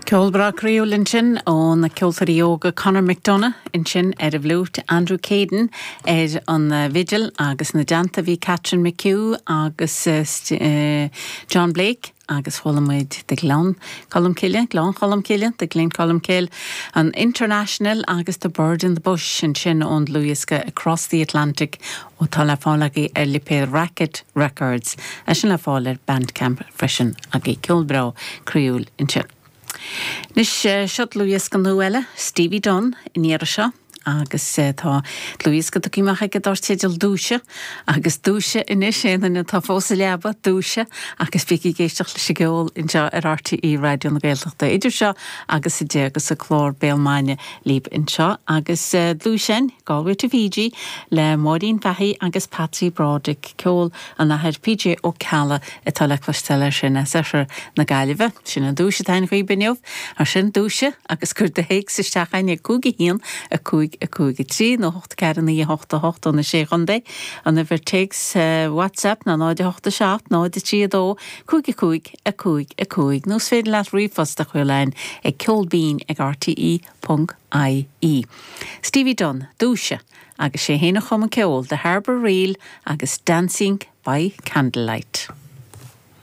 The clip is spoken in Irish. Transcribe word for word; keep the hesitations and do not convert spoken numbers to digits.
Ceol breá croíúil ansin ó na ceoltóirí óga Conor McDonough ansin ar an bhfliúit Andrew Caden ar an bhfidil agus ina dteannta bhí Catherine McHugh agus uh, John Blake agus chuala muid de Gleann Cholm Cille, Gleann Cholm Cille, the Glencolmcille, an International agus the Bird in the Bush ansin ón dlúthdhiosca Across the Atlantic atá le fáil agaibh ar lipéad Racket Records, é sin le fáil ar Bandcamp freisin agus ceol breá croíúil ansin. Anois seo dlúthdhiosca nua eile, Stevie Dunn in iarra seo agus tá dlúthdhiosca tugtha amach aige dar teideal Dúisigh agus dúisigh anois aon duine atá fós sa leaba dúisigh agus bígí ag éisteacht leis an gceol anseo ar RTÉ Raidió na Gaeltachta idir seo agus a deich agus a clár Béal Maidine libh anseo agus dlúsin Galway to Fiji le Máirín Fahey agus Patsy Broderick ceol an Athar PJ Ó Ceallaigh atá le cloisteáil sin as oirthear na Gaillimhe sin an duais atá agaibh inniu ar sin dúisigh agus cuir do théacs isteach chugainn cúig a haon a cúig a cúig a trí nó hocht ceathair naoi hocht a hocht ó na sé chontae an uimhir téacs WhatsApp ná náid hocht a seacht náid a trí a dó cúig a cúig a cúig a cúig nó is féidir leat ríomhphost a chur chugainn ag ceolbinn ag RTE ponc IE. Stevie Dunn, dúisigh agus sé féin a chum an ceol The Harbour Reel agus Dancing by Candlelight.